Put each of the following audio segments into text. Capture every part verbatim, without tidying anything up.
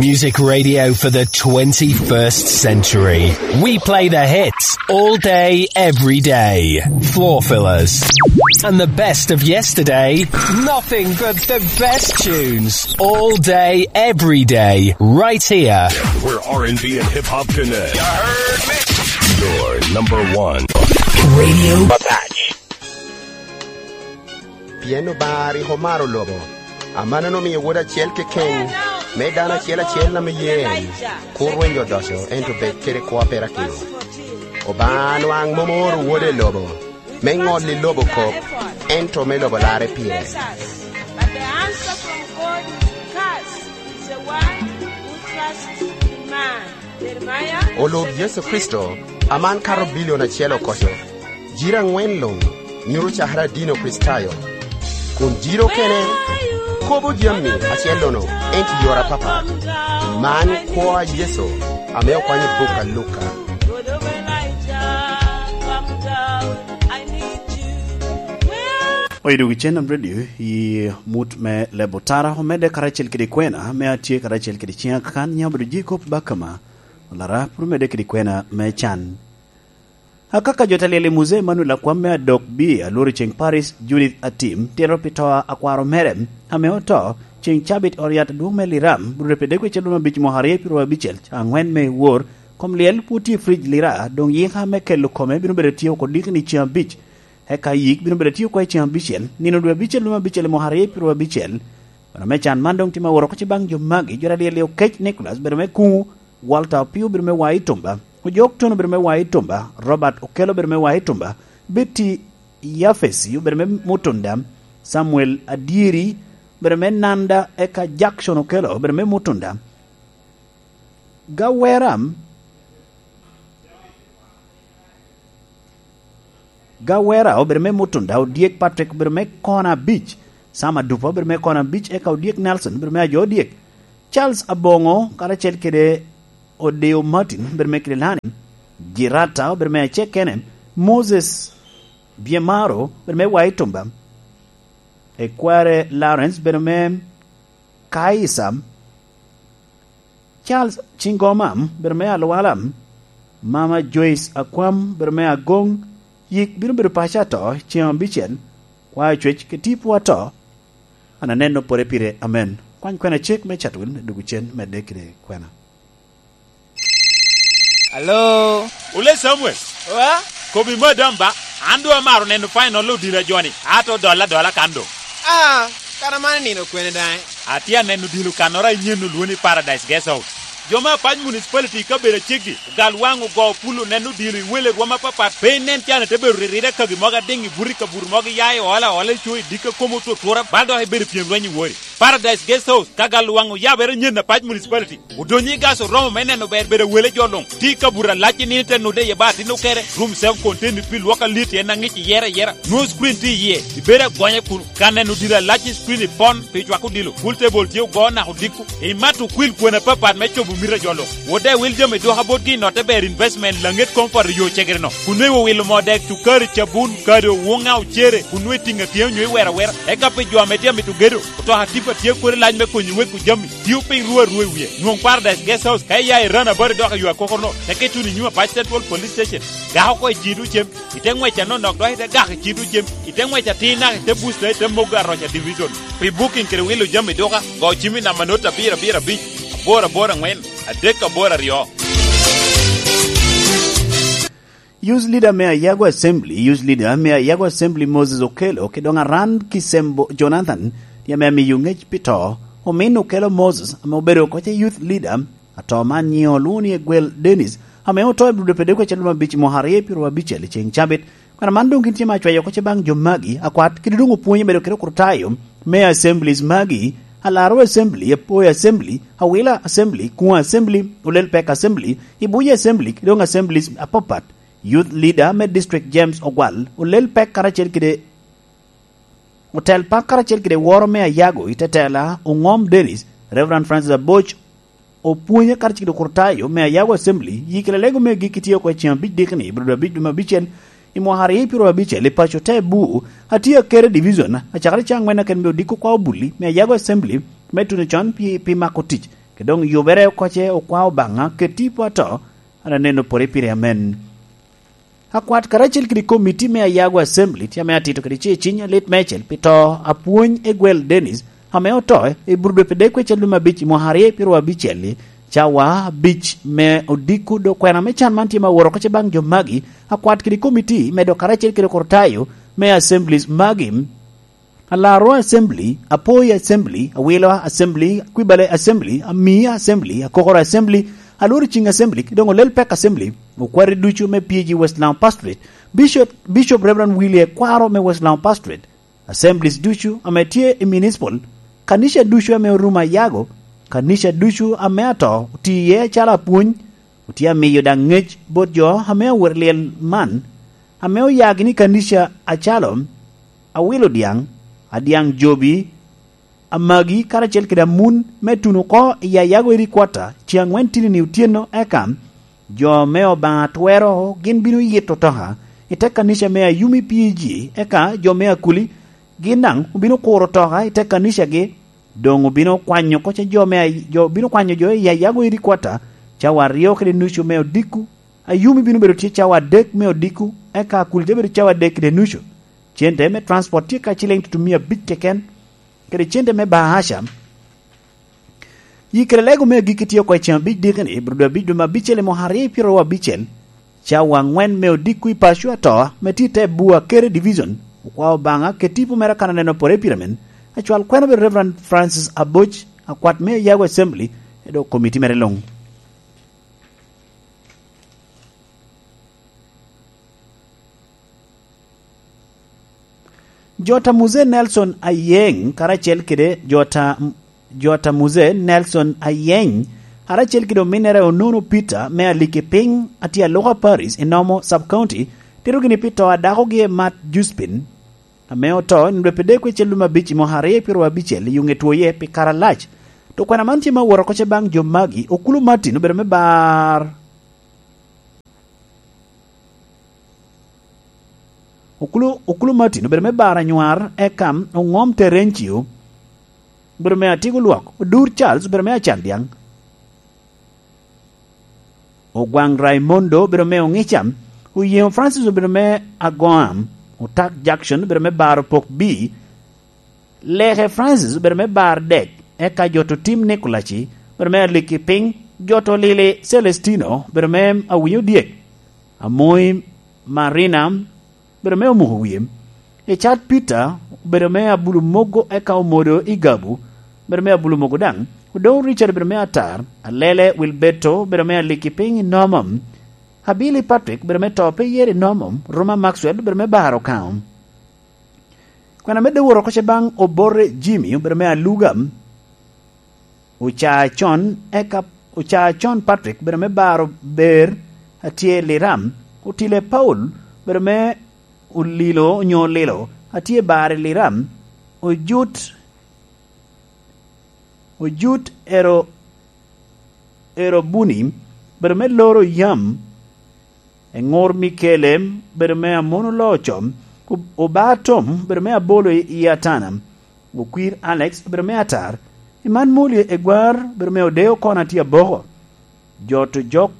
Music radio for the twenty-first century. We play the hits all day, every day. Floor fillers. And the best of yesterday. Nothing but the best tunes. All day, every day. Right here. Where R and B and hip hop connect. Your number one. Radio Patch. Pien Obaŋa rik omaro lobo, amannono omio Wode acel keken, me dano acel acel ame ye en, kur rweny odoco, ento bed kede kwo a perakino. Obaŋa nwaŋ mom ooro Wode i lobo, me ŋolli lobo kop, ento me lobo larre pire. But the answer from God is cast is the one who trusts in man. Olub Yecu Kricito, aman kato bilion acel okoco, jiro aŋwen luŋ nyuto cakere adino Kricitayo, kun jiro okene kobo jami acel-lono, ento i yore apapat. Man kwo a Yecu ame okwanyo i buk a Luka. Oyo dog i Cen Nam Radio i mut me Lebo Tara, omedde karacel kede kwena, me atye karacel kede ciŋa kan, nya obedo ji kop bakama. Olara, pwod omedde kede kwena me can. Akaka jo ta lyel i Muzee Emanuel Akwam me Adok B, Alworo Ceŋ Paris, Judith Atim, tyero pi to a akwaro mere, ame oto, ceŋ cabit Oriat adwoŋ me Liram, Rwot Epedego icel lwom abic mwaka aryo i pyero abicel, ca aŋwen me wor, kom lyel pwod tye i frij Lira, doŋ yika me kelo kome bino bedo tye oko dikini ceŋ abic. Eka yik bino bedo tye oko i ceŋ abicel, nino dwe abicel lwom abicel i mwaka aryo i pyero abicel. Kono me can man doŋ tye ma woro oko ci baŋ jo magi, jo ta lyel i Okec Nicholas, bedo me Kuŋu, Walter Opio, bedo me Wai Tumba, Ojok Tono, bedo me Wai Tumba, Robert Okello, bedo me Wai Tumba, Betty Yafesi, bedo me Mutunda, Samuel Adyeri, bedo me Nanda, eka Jackson Okello, bedo me Mutunda. Gawera, Gawera obedo me Mutunda, Odyek Patrick obedo me kona abic, Sam Adupa obedo me kona abic, eka Odyek Nelson obedo me ajo Odyek, Charles Abongo karacel kede Odeo Martin obedo me Kililani, Jirata obedo me Acekene, Moses Biemaro obedo me Wai Tumba, Ekware Lawrence obedo me Kaisa, Charles Cingoma, bedo me Alwala, Mama Joyce Akwam, bedo me Agoŋ, yik bino bedo paco ato ceŋ abicel, kwa ocwec ke tipo ato, an aneno pore pire, amen. Kwany kwena cek me Chatwin, dwogo cen medde kede kwena. Alo? Ole Samuel. Oa? Kobi madam ba, an doŋ amaro neno final odilo a joni, ato dolla dolla kan doŋ. Ah, kara man nino kwene daŋ? Atye aneno dilo kannoro a inyen olwoni Paradise Guest House. Jo me Apac Municipality i kabedo aceggi, ogal waŋ ogo pul oneno dilo i wele rwom apapat, pe inen can ite bedo riride kagi mogo adiŋ i buto i kabuto mogo iya i ola ola i co i dikka komo otutura bal dok ibedo pyem lweny i wori. Paradise Guest House, ka gal waŋ oyabere nyen Apac Municipality. Odonyo i gas oromo me neno ber bedo wele jo luŋ. Tye i kabuto alac i nino te nude iye ba atin okere. Room seven contain pi lwok alit en aŋic iyere ayera. Nwoŋo screen tye iye. Ibedo agonya kun ka neno dilo alac i screen ipon pi cwako dilo. Pool table tye ogo naka odiko. Imato okwil kwena apapat me cobo mito a jo luŋ. Wode wil jami dwoka botgi i notte ber investment laŋet koŋ poto yo cegere no. Kun nwe iwilo moo dek, cukari, cabun, kado, wuŋa, ocere, kun nwe itiŋa tye onyo iwero awera. Eka pi jo ame tye amito gedo, otoka tipa tye kodi lac me konyo wek ojami. Tio piny ruu arua i wie. Nwoŋ Paradise Guest House ka iya i Rana Bari dok ayo akokoro no, teke ituno i nyim Apac Central Police Station. Gak oko i cido cem, ite ŋwec anonok dok ite gak i cido cem, ite ŋwec atir naka ite busta ite mogo aroca division. Pi booking kede wilo jami duka, go cim i namba not abiro abiro abic, aboro aboro aŋwen, adek aboro aryo. Youth Leader me Ayago Assembly, Youth Leader me Ayago Assembly Moses Okello, ki doŋ Aran Kisembo Jonathan, tye ame amiyo ŋec pi to. Omin Okello Moses, ame obedo oko ce Youth Leader, ato man nyiŋe olwoŋo ni Egwel Dennis, ame oto i Budapest kwe calo me abic i mwaka aryo pyero abicel i ceŋ cabit. Kwena man doŋ gin tye ma acweyo oko ce baŋ jo magi, akwat, kede doŋ opwonyo bedo kede okrutayo me assemblies magi, Alaro Assembly, Apoyo Assembly, Awila Assembly, Kuŋo Assembly, Olel Pek Assembly, Ibuya Assembly, ki doŋ assemblies apapat. Youth Leader me District James Ogwal, olel pek karacel kede otel pak karacel kede woro me Ayago i tetela, Oŋom Dennis, Reverend Francis Aboc, opwonye karacel kede okrutayo me Ayago Assembly, yikki lalego me gikki tye oko i ceŋ abic dikni, ibiro dwe abic dwe me abicel, i mwaka aryo pyero abicel, i paco te Bur, atye akere division, acakere caŋ ŋwen aken me odiko kwa obulli me Ayago Assembly, me tuno con pi, pi mako tic. Kede doŋ yubere oko ce okwa Obaŋa kede tipo ato, an aneno pore pire amen. Akwat karacel kede komiti me Ayago Assembly tye ame atito kede ce ciny alit meicel pi to apwony Egwel Dennis, ame oto i Burudwe pi dek kwecel lume abic i mwaka aryo pyeraryo abicel-li, cawa abic me odiko. Dok kwena me can man tye ma woro oko ce baŋ jo magi, akwat kede komiti medo karacel kede kurtayo me assemblies magi: Alaro Assembly, Apoi Assembly, Awila Assembly, Kwibale Assembly, Amia Assembly, Akokoro Assembly, Alworo Ciŋ Assembly, kede doŋ Olel Pek Assembly, okwati ducu me P G West Lango Pastorate, Bishop, Bishop Reverend Willie Ekwaro me West Lango Pastorate, assemblies ducu ame tye i municipal, kanica ducu ame orumo Ayago, kanica ducu ame ato oti iye acalo apwony, otye amiyo daŋ ŋec bot jo ame awot lyel man, ame oyagi ni kanica acalo Awilo Dyaŋ, Adyaŋ Jobi, Amagi karacel kede Amun me tuno oko i Ayago Headquarter ceŋ aŋwen tinini otyeno, eka jo me Obaŋa twero gin bino yito toka i te kanica me Ayumi P G, eka jo me Akuli gin daŋ obino kuro toka i te kanicagi, doŋ obino kwanyo oko ce jo me Ay-, jo, obino kwanyo jo i Ayago Headquarter cawa aryo kede nucu me odiko. Ayumi bino bedo tye cawa adek me odiko, eka Akuli te bedo cawa adek kede nucu. Cente me transport tye ka ciliŋ tutumia abic keken, kede cente me bahasha. Yi kede lego me agikki tye oko i ceŋ abic dikini, Burudwe abic dwe me abicel i mwaka aryo pyeraryo abicel, cawa aŋwen me odiko i paco ato, me tye i te Bua Kere Division, okwa Obaŋa kede tipo mere akan aneno pore pire men, acwal kwena obedo Reverend Francis Aboc, akwat me Ayago Assembly, kede doŋ komiti mere luŋ. Jota Muse Nelson Ayeng karacel kede Jota, Jota Muse Nelson Ayeng karacel kede ominnere Onono Peter me Aliki Piny, atye Aluka Paris i Nomo Sub County, tito gini pi to a dakogi Matt Juspin, ame oto i nino dwe pi dek kwecel lume abic i mwaka aryo pyeraryo abicel i Ŋetwoye pi kare alac. To kwena man tye ma oworo oko ce baŋ jo magi: Okulu Martin obedo me bar Okulu, Okulu Martin obedo me bar anywar, eka Oŋom Terencio obedo me Atiko Lwok, Odur Charles obedo me Acan Dyaŋ, Ogwaŋ Raimondo obedo me Oŋica, Oyeŋo Francis obedo me Agoam, Otak Jackson obedo me bar Opok B, Leke Francis obedo me bar dek, eka Joto Tim Nikolaci obedo me Aliki Piny, Joto Lili Celestino obedo me Awinyo Dyek, Amoi Marina obedo me Omuko Wie, Icat Peter obedo me Abulu Mogo, eka Omodo Igabu obedo me Abulu Mogo daŋ, Odou Richard obedo me Atar, Alele Wilberto obedo me Aliki Piny i Nomo, Abili Patrick obedo me To Pe Yer i Nomo, Ruma Maxwell obedo me bar Okaŋo. Kwena medde woro oko ce baŋ Obote Jimmy obedo me Aluga, Ocaa Con, eka Ocaa Con Patrick obedo me baro Ber, atye i Liram, Otile Paul obedo me Olilo onyo Olilo, atye i bar i Liram, Ojut, Ojut Ero, Ero Buni obedo me Loro Yam, Eŋor Mikele obedo me Amono Loco, Ob-, Oba Tom obedo me Abolo i, i Atana, Okwir Alex obedo me Atar, Iman Moli Egwar obedo me Odeo Kona tye Aboko, Joto Jok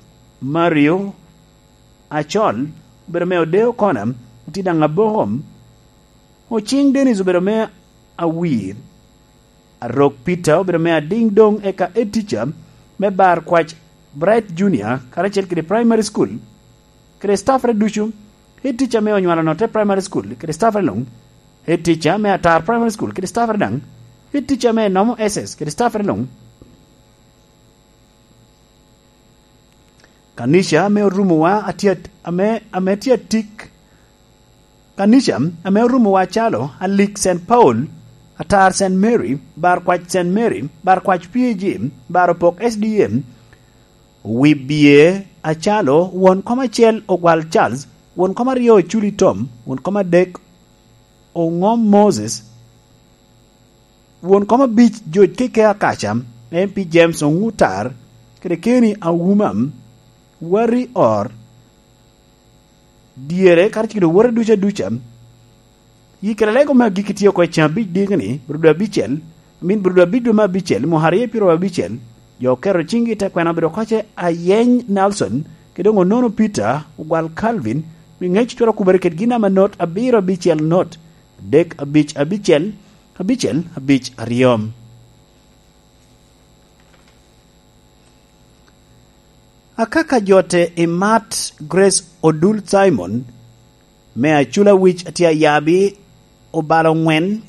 Mario Acol obedo me Odeo Kona tye daŋ Aboko, Ociŋ Dennis obedo me Awir, Arok Peter obedo me Adiŋ Doŋ, eka Head Teacher me Bar Kwac Bright Junior karacel kede Primary School kede staffere ducu, Head Teacher me Onywalo Note Primary School kede staffere luŋ, Head Teacher me Atar Primary School kede staffere daŋ, Head Teacher me Nomo S S kede staffere luŋ. Kanica ame orumowa atye at-, ame, ame tye atik. Kanica ame orumowa acalo Alik Saint Paul, Atar Saint Mary, Bar Kwac Saint Mary, Bar Kwac P A G, Bar Opok S D A, Wibye acalo Won Kom Acel Ogwal Charles, Won Kom Aryo Oculi Tom, Won Kom Adek Oŋom Moses, Won Kom Abic George Keke Akaca, M P James Oŋutar, kede Kenny Auma, Wari Or, dyere, karacel kede owote ducu aduca. Yi kede lego me agikki tye oko i ceŋ abic diki-ni, Burudwe abicel, I mean, Burudwe abic dwe me abicel, mwaka aryo pyeraryo abicel, Jo oketo ciŋgi i te kwena obedo koce Ayeny Nelson, kede doŋ Onono Peter, Ogwal Calvin, wi ŋec twero okubere kede gin ame not abiro abicel not, adek abic abicel, abicel abic aryo. Akaka jote i mat Grace Odul Simon, me Acula Wic a tye ayabi obalo ŋwen,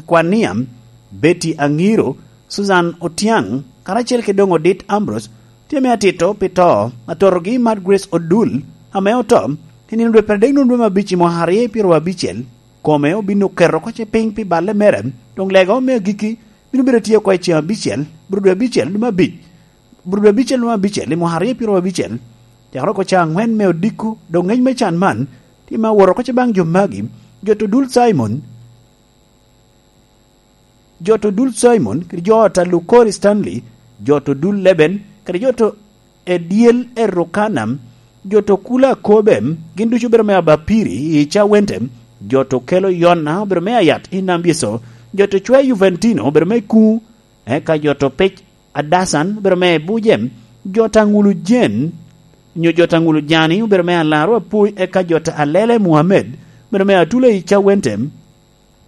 Kwania, Betty Aŋiro, Susan Otiaŋ, karacel kede doŋ Odit Ambrose, tye me atito pi to, atotogi i mat Grace Odul, ame oto, i nino dwe pyeradek nwoŋo dwe me abic i mwaka aryo pyeraryo abicel, kome obin oketo oko ce piny pi balle mere, doŋ lega me agikki bino bedo tye oko i ceŋ abicel, bro dwe abicel dwe me abic, bro dwe abicel dwe me abicel i mwaka aryo pyeraryo abicel, cakere oko ca aŋwen me odiko, doŋ ŋec me can man, tye me awot oko ce baŋ jo magi, jo to dul Simon, jo to dul Simon, kede jo ot a Lukori Stanley, jo to dul Leben, kede jo to Ediel Erukana, jo to kula Kobe, gin ducu obedo me Abapiri i Cawente, jo to kelo Yona obedo me Ayat i Nambieso, jo to cwe Juventino obedo me Kuŋu, eka jo to pec Adasan obedo me Buje, jo to aŋulu Jen, nyo jo to aŋulu Jani obedo me Alaro Apui, eka jo to Alele Muhammed obedo me Atula i Cawente,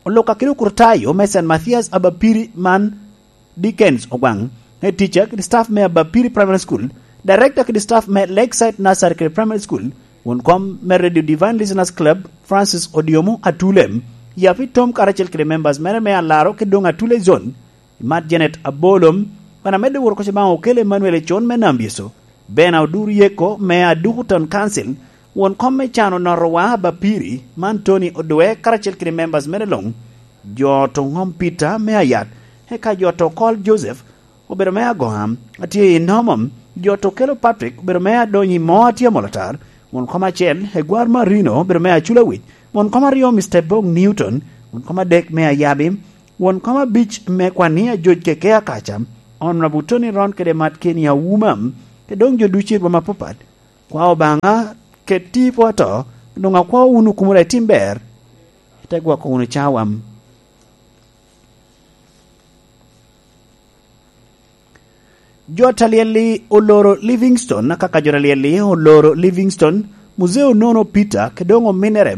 Oluka kede okurtayo me Saint Mathias Abapiri man Dickens Ogwaŋ, head teacher kede staff me Abapiri Primary School, director kede staff me Lakeside Nursery kede Primary School, won kom me Radio Divine Listeners Club, Francis Odiomo Atulem, Yapi Tom karacel kede members mere me Alaro kede doŋ Atule Zone, Imat Janet Abolom, wan amedde woro koca baŋ Okello Emmanuel Econ me Nambieso, Bena Odur Yeko me Aduku Town Council, won kom me can onotowa Abapiri, man Tony Odwe karacel kede members mere luŋ, jo to ŋom Peter me Ayat, eka jo to Okol Joseph, obedo me Agoŋam, atye i Nomom, jo to Okelo Patrick, obedo me Adonyi Mo atye Molatar, won kom acel, Egwar Marino, obedo me Acula Wic, won kom aryo, Mister Bong Newton, won kom adek me Ayabi, won kom abic me Kwania George Keke Akaca, Honorable Tony Ron kede Mat Kenny Auma, kede doŋ jo ducu i rwom apapat, kwa Obaŋa ket tipo ato, doŋ akwa wunu kumoro itim ber, ite gwoko wunu cawa. Jo ta lyel-li oloro Livingstone, akaka jo ta lyel-li oloro Livingstone, Muzee Onono Peter, kede doŋ ominere,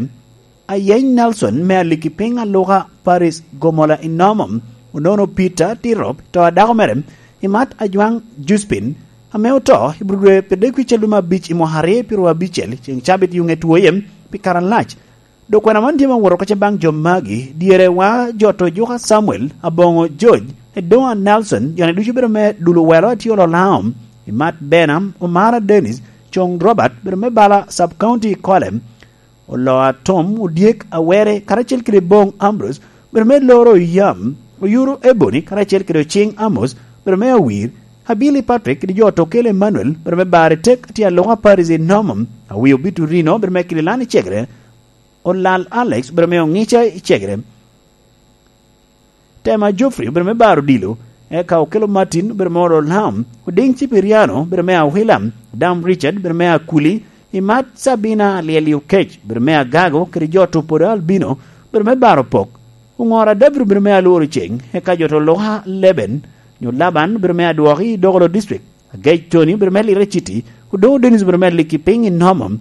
Ayeny Nelson me Aliki Piny Aluka Paris Gomola i Nomom, Onono Peter Tirop, to a dako mere, Imat Ajwaŋ Juspin, ame oto i bro dwe pyeradek wic alum abic i mwaka aryo pyeraryo abicel, ceŋ cabit yuŋe twoye pi kare alac. Dok kwena man tye me woro koca baŋ jo magi, dyere wa jo to Juka Samuel, Aboŋo George, Edoŋa Nelson, jo-ni ducu bedo me Dul Owelo atye Ololaom, Imat Bena, Omara Dennis, Coŋ Robert, bedo me bala Sub County i Kolem, Oloa Tom, Odyek Awere, karacel kede Boŋ Ambrose, bedo me Loro Yam, Oyuro Ebony, karacel kede Ociŋ Amos, bedo me Awir, Abili Patrick, kede jo to Okelo Emmanuel, bedo me Bari Tek, tye Aluka Paris i Nomom, Awio Biturino, bedo me Kililani Cegere, Olal Alex, obedo me Oŋica i Cegere. Tema Geoffrey, obedo me Bar Odilo, eka Okelo Martin, obedo me Olo Lam, Odiŋ Cipiriano, obedo me Awila, Dam Richard, obedo me Akuli, Imat Sabina Alyeli Okec, obedo me Agago, kede jo Tupodo Albino, obedo me Bar Opok, Oŋora David, obedo me Alworo Ceŋ, eka jo to Luka Leben, nyo Laban, obedo me Adwoki i Dokolo District, Agec Tony, obedo me Lira City, Odoŋo Dennis, obedo me Liki Piny i Nomom,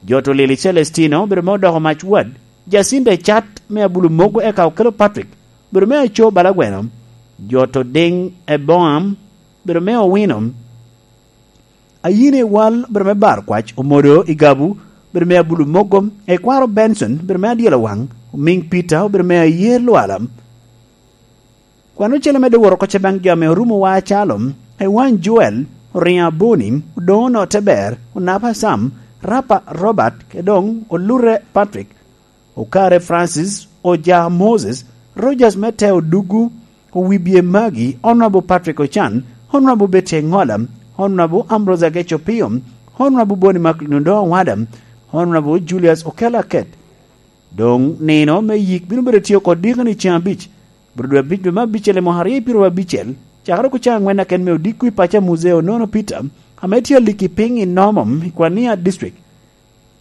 jo to Lili Celestino, obedo me Odoko Mac Wad, Jacinta Ecat me Abulu Mogo eka Okelo Patrick, bedo me Aco Balagweno, jo to Diŋ Eboam, bedo me Owino, Ayine Wal, bedo me Bar Kwac, Omodo Igabu, bedo me Abulu Mogo, Ekwaro Benson, bedo me Adyelo Waŋ, Omiŋ Peter, obedo me Ayer Lwala. Kwan ocele medde woro oko ce baŋ jo ame orumo wa acalo, Ewan Joel, Oriŋo Aboni, Odoŋo Note Ber, Onapa Sam, Rapa Robert, kede doŋ Olure Patrick, Okare Francis, Oja Moses, Rogers me Teo Dugu, Owibye Magi, Honorable Patrick Ochan, Honorable Betty Engola, Honorable Ambrose Ageco Pio, Honorable Boni Macklin Odongo Wada, Honorable Julius Okello Aket. Doŋ nino me yik bino bedo tye oko dikoni ceŋ abic, bro dwe abic dwe me abicel i mwaka aryo pyeraryo abicel, cakere oko ceŋ aŋwen aken me odiko i paco a Muzee Onono Peter, ame tye aliki piny i Nomom i Kwania District.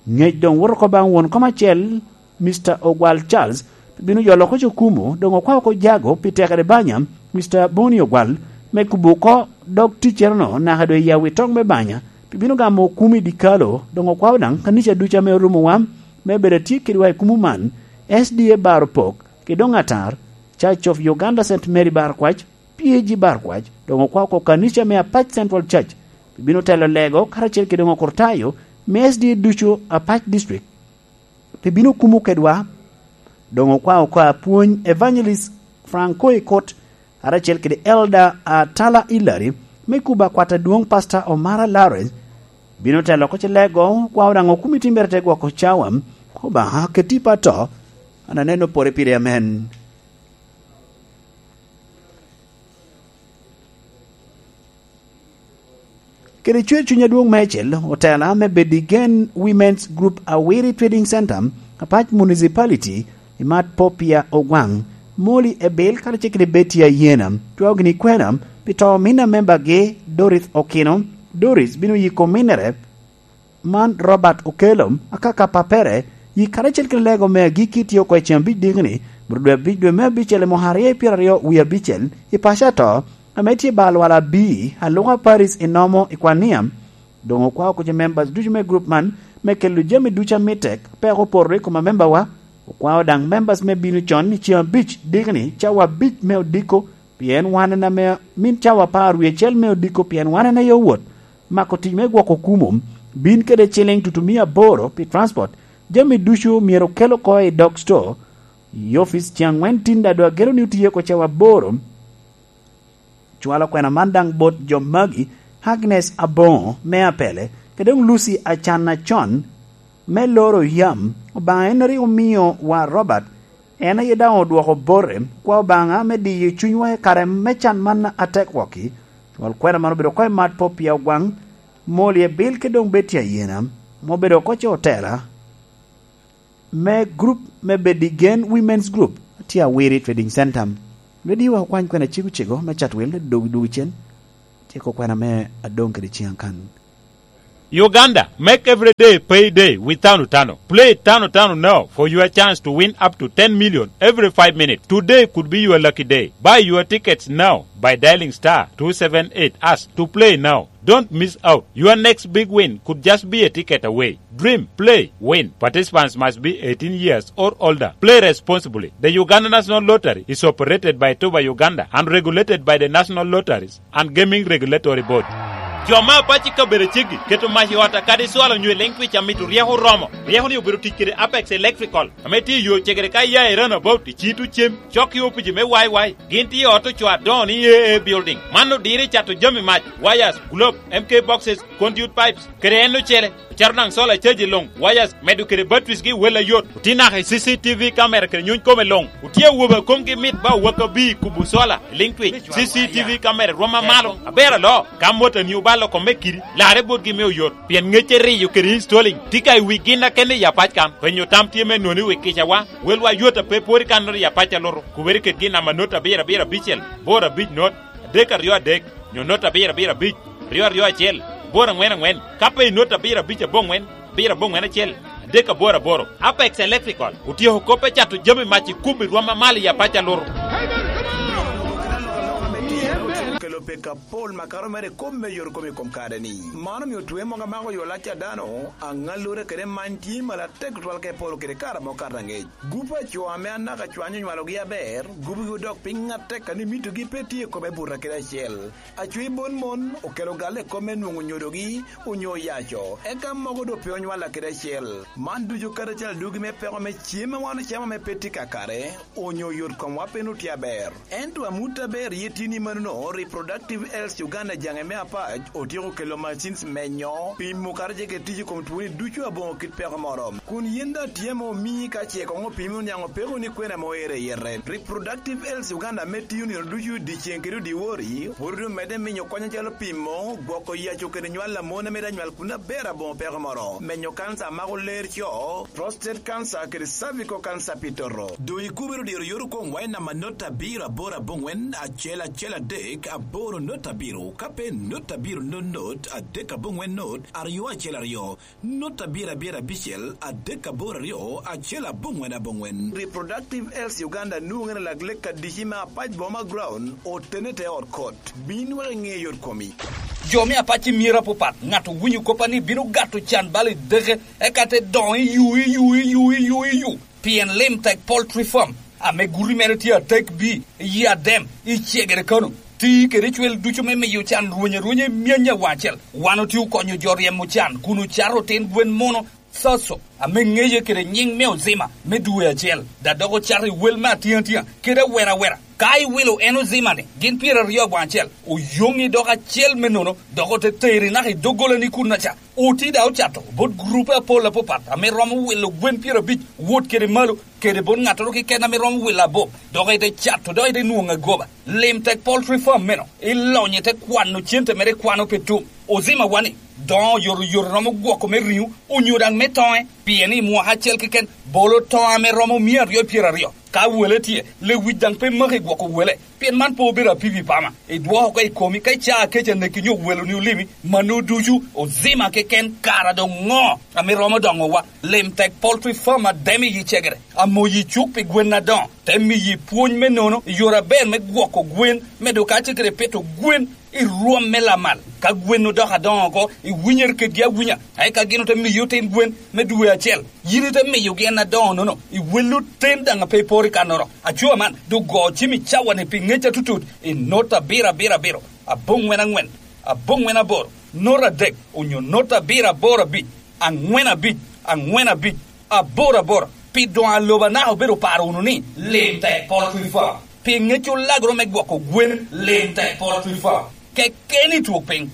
Ŋec doŋ woto oko baŋ won kom acel, Mister Ogwal Charles, bino yolo oko cukumu, doŋ okwao oko jago pi tekere banya, Mister Boni Ogwal, me kubo oko dog ticcere-nu naka doŋ i awi toŋ me banya, pi bino gamo okuma i dikalo. Doŋ okwao daŋ kanica ducu ame orumowa me bedo atye kedwa i kumo man, S D A Bar Opok, kede doŋ atar, Church of Uganda Saint Mary Bar Kwac, P A G Bar Kwac, doŋ okwao oko kanica me Apac Central Church, pi bino telo lego karacel kede doŋ okurtayo me S D A ducu Apac District, pi bino kumo kedwa. Doŋ okwao oko apwony Evangelist Franco Ikot, karacel kede Elder Atala Hillary, me kubo akwat adwoŋ Pastor Omara Lawrence, bino telo oko ce lego. Okwao daŋ okumi timbere te gwoko cawa, Obaŋa keti pa to, an aneno pore pire amen. Kede cwer cuny adwoŋ meicel, otela me Bedigen Women's Group Awiri Trading Center, Apac Municipality, i mat Popia Ogwaŋ, Moli Ebil, karacel kede Betty Ayena, cwao gini kwena pi to omin a membagi, Doris Okino. Doris bino yiko ominere, man Robert Okello, akaka papere, yi karacel kede lego me agikki tye oko i ceng abic dikni, bro dwe abic dwe me abicel i mwaka aryo i pyeraryo wie abicel, i paco ato, ame tye ba lwal abi, Aluka Paris i Nomo i Kwania. Doŋ okwao kuc i members ducu me group man me kelo jami ducu amitte, peko opoto i kom amembawa. Okwao daŋ members me bino con i ceng abic dikni, cawa abic me odiko, pien wan en ame min cawa apar wie acel me odiko, pien wan en aye owot mako tic me gwoko kumo, bin kede ciliŋ tutumia aboro pi transport. Jami ducu myero okel oko i dog store, i opic ceng aŋwen tin, daŋ doŋ ageno ni otiye oko cawa aboro. Cwalo kwena man daŋ bot jo magi, Agnes Aboŋo me Apele, kede doŋ Lucy Acan Acon me loro yam. Obaŋa en rik omio wa Robert, en aye daŋ odwoko bote. Kwa Obaŋa me diyo cunywa i kare me can man atek wok-ki. Cwal kwena man obedo oko i mat Popia Ogwaŋ, Moli Ebil kede doŋ Betty Ayena, ma obedo oko ce otela me group me Bedigen Women's Group, tye Awiri Trading Center. Rediwa okwany kwena cego cego me Chatwil, dog dog cen. Tyeko kwena me adoŋ kede ciŋ akan. Uganda, make every day payday with Tano Tano. Play Tano Tano now for your chance to win up to ten million every five minutes. Today could be your lucky day. Buy your tickets now by dialing star two seven eight hash to play now. Don't miss out. Your next big win could just be a ticket away. Dream, play, win. Participants must be eighteen years or older. Play responsibly. The Uganda National Lottery is operated by Tuba Uganda and regulated by the National Lotteries and Gaming Regulatory Board. Jo me Apac i kabedo ceggi keto mac i ot akadi cwalo nyo i Link Twitch amito ryeko oromo. Ryeko-ni obedo tic kede Apex Electrical, ame tye i yo cegere ka iya i Runabout i Cito Cem, cok i opici me Y Y. Gin tye i ot ocoo adoŋo ni A A Building. Man odiro i cato jami mac, wires, globe, M K boxes, conduit pipes, kede en ocele. Ocato daŋ solar charge i luŋ, wires, medo kede batteries gi wel ayot. Otye naka i C C T V camera kede nyuny kome luŋ. Otye awobe a komgi mit ba owak abir i kubo solar i Link Twitch. C C T V camera rwom amalo, aber aloo. Ka motoni obalo kome kidi, larre botgi me oyot. Pien ŋecce riyo kede installing tye ka i wi gin akene i Apac kan. Penyo tam tye me noni wi kicawa. Welwa yot a pe pwod i kannoro i Apac alutu. Kubere ked gin namba not abiro abiro abicel, boro abic not, adek aryo adek, nyo not abiro abiro abic, aryo aryo acel, boro aŋwen aŋwen, ka pe i not abiro abic aboŋwen, abiro aboŋwen acel, adek aboro aboro. Apex Electrical otyeko kop me cato jami mac i kubo i rwom amalo i Apac alutu. Kelo pek apol makato mere i kop me yot kom i kom kare-ni. Man omio twe mogo amako yo lac a dano, aŋallure kede many tye malo atek tutwal ka iporo kede kare amo kato aŋec. Gup a co ame anaka cwany onywalogi aber, gupgi odok piny atek, kadi mitogi pe tye i kome buto kede acel. Acwi bon mon okelo galle i kop me nwoŋo nyodogi onyo oyaco, eka mogo doŋ pe onywalla kede acel. Man ducu kadi acel adugi me peko me cem a wan ocamo ame pe tye kakare, onyo oyot komwa pe nwoŋo tye aber. Ento amut aber ye tye ni manono, Reproductive Health Uganda jaŋe me Apac otyeko kelo machines menyo, pimo kadi ce kede tic i kom twoni ducu aboŋo kit peko moro. Kun yin daŋ tye ame omii ka ce koŋ opimi oniaŋ opeko ni kwena ame oero i yite. Reproductive Health Uganda ame tiyo nino ducu dyeceŋ kede dyewor-ri, pwod omedde minyo kony acalo pimo, gwoko yaco kede nywal a mon ame daŋ nywal kun aber aboŋo peko moro, menyo kanca a mako ler co, prostate cancer kede cervical cancer pi toto. Doŋ ikubere odiro yot okoŋ wai namba not abiro aboro aboŋwen acel acel adek Boro not abiro, ka pe not abiro not not, adek aboŋwen not, aryo acel aryo, not abiro abiro abicel, adek aboro aryo, acel aboŋwen aboŋwen. Reproductive Health Uganda nwoŋere lak lek adici me Apac Boma Ground, otene te ot kot. Bin wek iŋe yot komi. Jo me Apac i myero apapat, ŋat owinyo koppa ni bino gato can bal i deke, eka te doŋo i yu, i yu, i yu, i yu, i yu. Pien Lim Tek Poultry Farm, ame guti mere tye atek bi, i Adem, i Cegere Kano, ti kede cwel ducu me miyo can rweny arwenya i myany awaŋ acel. Wan otye okonyo jo ryemo can kun ocato otin gwen muno, Thaso, ame ŋeye kede nyiŋ me Ozima, me dwe acel, da dok ocato i wel me atiŋatia, kede awera awera. Ka iwilo en Ozima-ni, gin pyeraryo awaŋ acel, oyoŋi dok acel me nono, dok ote teri naka i doggolani kunnaca. Oti da ocato bot gurupe apol apapat ame romo wilo gwen pyerabic wot kede malo, kede bot ŋattoro keken ame romo wilo abop, dok ite cato, dok ite nwoŋo agoba. Lim Tek Poultry Farm meno, ilonyo ite kwano cente mere ikwano pe tum. Ozima wani, doŋo oyotoyot romo gwoko me riŋo, onyo daŋ me toŋe, pien i mwaka acel keken, bolo toŋo ame romo mia aryo pyeraryo. Ka wele tye, lewic daŋ pe maki gwoko wele, pien man pe obedo apipi pama. Idwoko oko i komi, ka icaa kec aneki nyo weloni olimi, mano ducu Ozima keken kara doŋ ŋo ame romo doŋowa. Lim Tek Poultry Farm Adem i Cegere, amoyi cuk pi gwen adoŋo, te miyi pwony me nono, i yore aber me gwoko gwen, medo kacel kede pito gwen i rwom me lamal. Ka gwen odoko adoŋo oko, iwinyere kedgi awinya, eka gin ote miyi otin gwen me dwe acel. Yin ite miyogi en adoŋo-nono, iwello ten daŋ a pe iporo i kannoro. Aco man, doŋ go cim i cawa-ni pi ŋec atutut i not abiro abiro abiro, aboŋwen aŋwen, aboŋwen aboro, not adek, onyo not abiro aboro abic, aŋwen abic, aŋwen abic, aboro aboro. Pi doŋ a lobo anaka obedo oparo wunu ni, Lim Tek Poultry Farm. Pi ŋec olagoro me gwoko gwen, Lim Tek Poultry Farm. Keken i twok piny.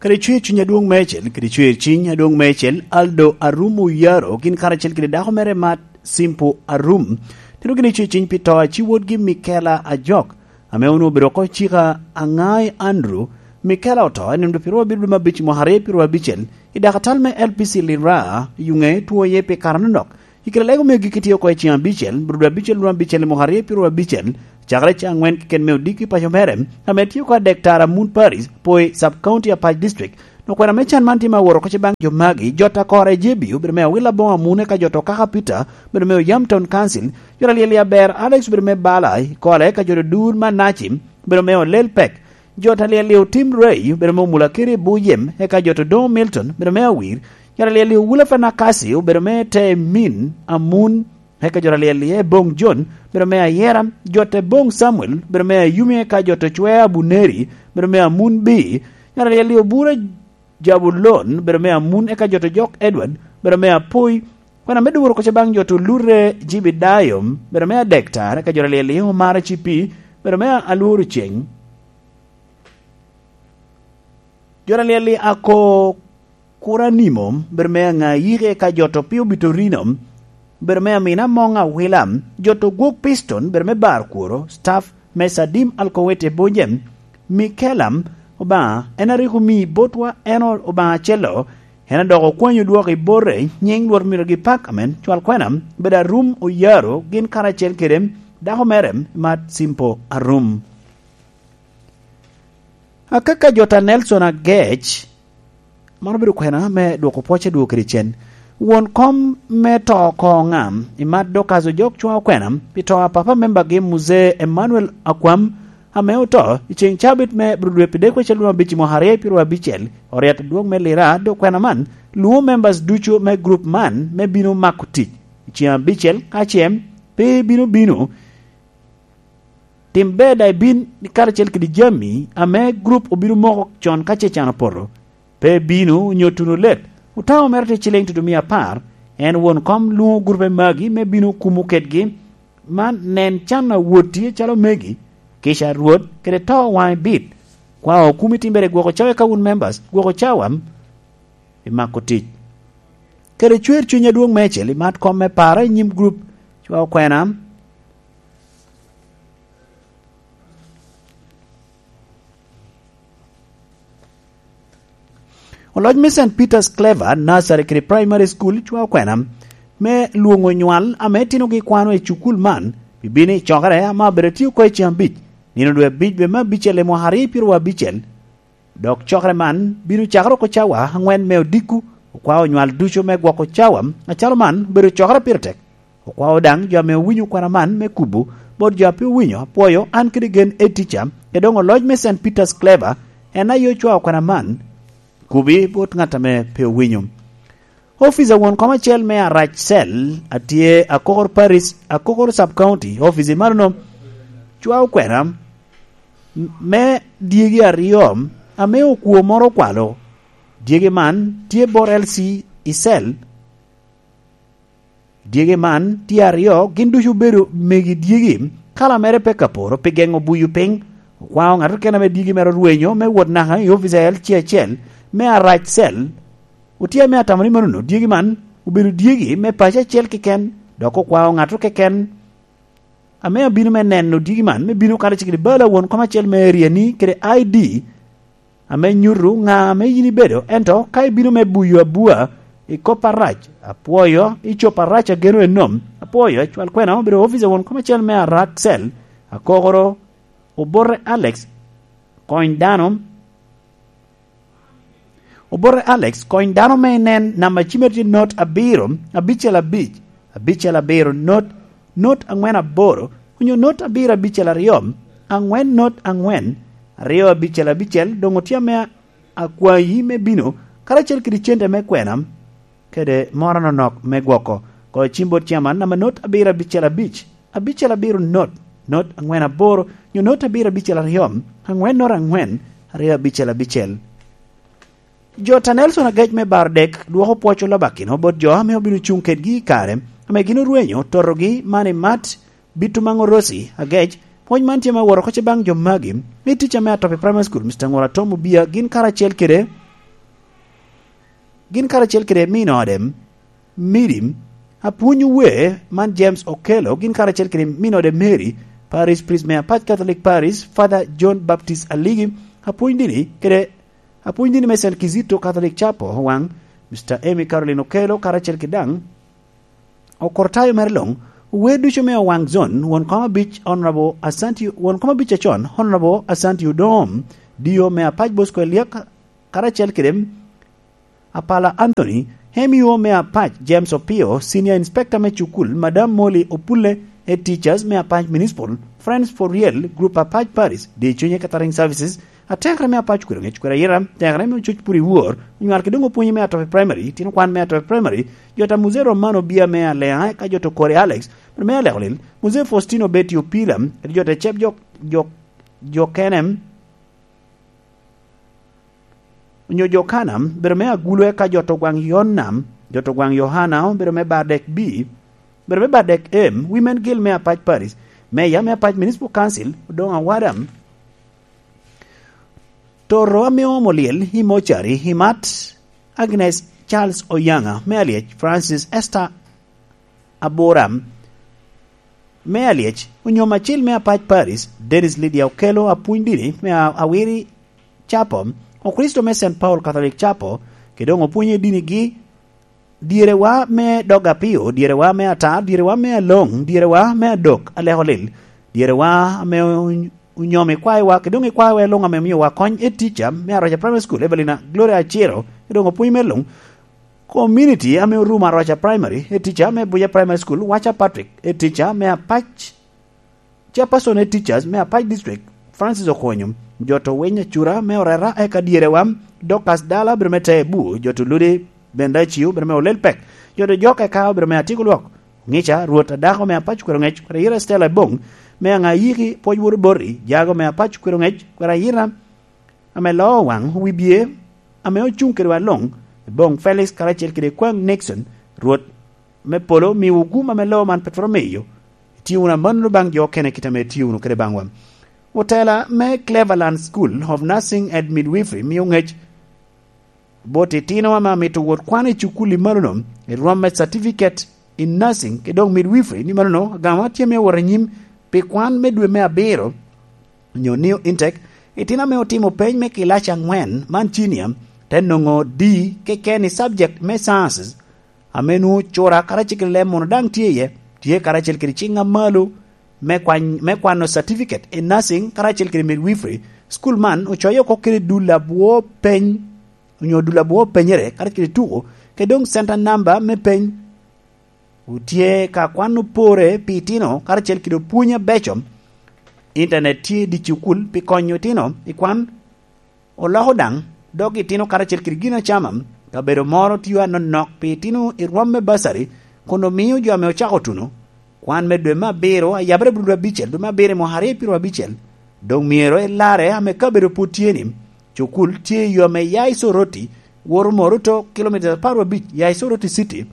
Kede cwer cuny adwoŋ meicel, kede cwer ciny adwoŋ meicel, Aldo Arum Oyaro gin karacel kede dako mere Mat Simpo Arum, tino gin i cwer ciny pi to a ci wotgi Mikela Ajok, ame onwoŋo obedo oko cika Aŋai Andrew. Mikela oto, en en dwe pyeraryo abiro dwe me abic mwaka aryo pyeraryo abicel, i dakatal me L P C Lira, i Yuŋe, two iye pi kare anonok. I kare lega omio gik itye oko i ceng abicel, bro dwe abicel, dwe abicel, mwaka aryo pyeraryo abicel, cakere ceng aŋwen keken me odiki paco mere, ame tye oko a Daktari Amun Paris, Poi Sub-County Apac District. Okwena me can man tye me awot oko ce baŋ jo magi, jot a Kora Ejebi, obedo me Awil Aboŋo Amun, eka jot Okaka Peter, obedo me Oyam Town Council, jot alyel i Aber, Alex, obedo me Bala, i Kole, eka jot Odur Manaci, obedo me Olel Pek, jot alyel i Otim Ray, obedo me Omula Kere Buyem, eka jot Odoŋo Milton, obedo me Awir, jot alyel i Owula Fanakasi, obedo me Te Min Amun, eka jot alyel i Ebong John, obedo me Ayera, jot Ebong Samuel, obedo me Ayumi, eka jot Ocwe Abuneri, obedo me Amun Bi, jot alyel i Obura Jabulon, obedo me Amun, eka jot Ojok Edward, obedo me Apoi, kwena me duro koca baŋ jot Olure Jibidayo, obedo me Adektar, eka jot alyel i Omara Cipi, obedo me Alworo Ceng. Jot alyel i Ako Kuranimo, obedo me Aŋayike, eka jot Opio Bitorino, obedo me Amina Moŋ Awila, jot Ogwok Piston, obedo me Bar Kworo, staff me Sadim Alkowete Bonjem, Mikela, Obaŋa, en a rik omii botwa, en o-, Obaŋa acel-lo, en a dok okwanyo dwoko i bote, nyiŋ Rwot myero gipak, amen. Cwal kwena, obedo Arum Oyaro, gin karacel kede dako mere, Mat Simpo Arum. Akaka jot a Nelson Agec, man obedo kwena me dwoko pwoc adwogo kede cen. Won kom me to oko ŋa, Imat Dorcas Ojok cwa okwena, pi to a papa membagi Muzee Emmanuel Akwam, ame oto i ceŋ cabit me bro dwe pi dek wecel dwe abic i mwaka aryo pyeraryo abicel, oryet adwoŋ me Lira, dok kwena man lwoŋo members ducu me group man me bino mako tic i ceŋ abicel, ka ce pe bino bino. Tim ber daŋ ibin karacel kede jami ame gurup obino moko con ka ce can opoto. Pe bino onyo tuno let. Otamo mere tye ciliŋ tutumia apar. En won kom lwoŋo gurupe magi me bino kumo kedgi. Man nen can a wot tye calo megi, kica a Rwot, kede to waŋe bit. Kwa okumi timbere gwoko cawa ka wun members, gwoko cawa i mako tic. Kede cwer cuny adwoŋ meicel i mat kom me paro i nyim gurup cwa okwena. Oloc me Saint Peter's Clever Nursery kede Primary School cwa okwena me lwoŋo nywal ame itinogi kwano i cukul man, pi bino i cokere ame abedo atye oko i ceng abic. Nino dwe abic, dwe me abicel i mwaka aryo pyeraryo abicel, dok cokere man bino cakere oko cawa aŋwen me odiko. Okwao onywal ducu me gwoko cawa acalo man obedo cokere pire tek. Okwao daŋ jo ame owinyo kwena man me kubo bot jo a pe owinyo. Apwoyo an kede gen etica, e doŋ oloc me Saint Peter's Clever, en aye ocwao kwena man. Kubi bot ŋat ame pe owinyo. Ofice a won kom acel me Arac Cell a tye Akokor Parish, Akokor Sub County, ofice manono cwao kwena me dyegi aryo ame okwo moro okwalo. Dyegi man tye bot L C i Cell. Dyegi man tye aryo, gin ducu obedo megi dyegi. Kala mere pe ka poro pi geŋo buyo piny. Okwao ŋat keken ame dyegi mere orwenyo me wot naka i ofice a L C acel me Arac Cell. Otye ame atamo ni manono dyegi man obedo dyegi me paco acel keken, dok okwao ŋat keken ame abino me neno dyegi man, me bino kadi cik i bala won kom acel me area-ni kede I D, ame nyuto ŋa ame yin ibedo. Ento ka ibino me buyo abua i kop arac, apwoyo, i cob arac ageno enom, apwoyo, cwal kwena obedo ofice won kom acel me Arac Cell, Akokoro, Obote Alex, kony dano, Obote Alex, kony dano me inen namba cimere tye not abiro, abicel abic, abicel abiro, not, not aŋwen aboro, onyo not abiro abicel aryo, aŋwen not aŋwen, aryo abicel abicel. Doŋ otye ame akwayi me bino karacel kede cente me kwena kede moro anonok me gwoko. Koŋ icim bot ciaman namba not abiro abicel abic, abicel abiro not, not aŋwen aboro, nyo not abiro abicel aryo, aŋwen not aŋwen, aryo abicel abicel. Jo ta Nelson Agec me Bardek dwoko pwoc olabakino bot jo ame obino cuŋ kedgi i kare ame gin orwenyo totogi man i mat Bito Maŋo Rosi Agec. Pwony man tye me woro oko baŋ jo magi. Ni tic ame Atopi Primary School, Mister Ŋola Tom Obia, gin karacel kede, gin karacel kede min ode, Mary, apwony wer man James Okello, gin karacel kede min ode Mary, Parish Priest me Apac Catholic Parish, Father John Baptist Aligi, apwony dini kede apwony dini me Saint Kizito Catholic Chapel, Owaŋ, Mister Amy Caroline Okello, karacel kede daŋ okortayo mere luŋ, ower ducu me Owaŋ Zone, won kom abic Honorable Asante, won kom abic acon Honorable Asante Odom, D O me Apac Bosco Eliak, karacel kede Apala Anthony, M E O me Apac James Opio, Senior Inspector me cukul, Madam Molly Opule, Head Teachers me Apac Municipal, Friends for Real, Group Apac Paris, Di Cunye Catering Services, atekere me Apac Kwero Ŋec Kwero Ayira, tekere me Ocuc Pur i Wor, onywal kede doŋ opwonye me Atopi Primary, tino kwan me Atopi Primary, jo ta Muzee Romano Bia me Alea, eka jo to Kore Alex, me Aleko Lil, Muzee Faustino Betty Opila, kede jo ta Cep jo, jo, jo Kenem, onyo jo Kana, bedo me Agulu, eka jo to gwaŋ Yonam, jo to gwaŋ Yohana, bedo me Bardek B, bedo me Bardek M, Women Guild me Apac Paris, Meya me Apac Municipal Council, Odoŋ Awadam, Toro ame omo lyel i mocari, i mat Agnes Charles Oyaŋa me Alyec, Francis Esther Aburam me Alyec, onyo Macil me Apac Paris, Dennis Lydia Okello, apwony dini me A-, Awiri Chapel, Okricito me Saint Paul Catholic Chapel, kede doŋ opwonye dinigi, dyerewa me dog apio, dyerewa me atar, dyerewa me aloŋ, dyerewa me adok, Aleko Lil, dyerewa ame ony-, onyomo i kwayowa, kede doŋ i kwayowa luŋ ame omiowa kony, Head Teacher me Aroca Primary School, Evelina Gloria Aciro, kede doŋ opwony me luŋ, Community ame orumo Aroca Primary, Head Teacher me Abuja Primary School, Wacha Patrick, Head Teacher me Apac, Chairperson Head Teachers me Apac District, Francis Okonyo, jo to Winy Acura me Orera, eka dyerewa, Dorcas Dala, obedo me Tebu, jo to Ludi, Benda Ciu, obedo me Olel Pek, jo to Jok eka obedo me Atiko Lwok, Ŋica, Rwot Adako me Apac Kwero Ŋec, Kwero Ayira Stella Ebong, me Aŋa Yiki, Pwoc Woro Boti, Jago me Apac Kwero Ŋec, Kwero Ayira, ame loo waŋ wi bye, ame ocuŋ kedwa luŋ, Ebong Felix karacel kede Kwaŋ Nixon, Rwot me polo miwu gum ame loo man pe twero miyo. Itye wunu amannono baŋ jo okene kit ame itye wunu kede baŋwa. Otela me Cleverland School of Nursing and Midwifery mio ŋec bot itino ame amito wot kwano i cukul i malono, i rwom me Certificate in Nursing, kede doŋ Midwifery, ni manono agama tye me wot anyim pi kwan me dwe me abiro, onyo New Intake, itino ame otimo peny me kilaci aŋwen man cinia, te nwoŋo D keken i subject me Sciences, ame nwoŋo cura karacel kede leb mono daŋ tye iye, tye karacel kede ciŋ amalo, me kwany, me kwano certificate i nursing karacel kede midwifery. School man ocoyo oko kede dul abwo peny, onyo dul abwo penyere karacel kede tuko, kede doŋ center number me peny. Otye ka kwano pore pi itino karacel kede opwony abeco. Internet tye i dye cukul pi konyo itino i kwan. Oloko daŋ dog itino karacel kede ginacama. Kabedo moro tio anonok pi itino i rwom me basari, kun omio jo ame ocako tuno kwan me dwe me abiro ayabere bulu abicel, dwe me abiro i mwaka aryo pyero abicel. Doŋ myero elarre ame kabedo pwod tye ni, cukul tye i yo ame ya i Soroti, woto Moroto, kilomitas apar abic ya i Soroti City.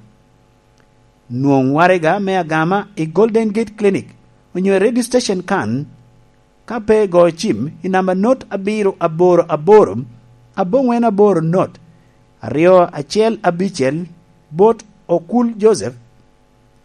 Nwoŋ waraga me agama i Golden Gate Clinic, onyo i radio station kan, ka pe igoyo cim i namba not abiro aboro aboro, aboŋwen aboro not, aryo acel abicel, bot Okul Joseph,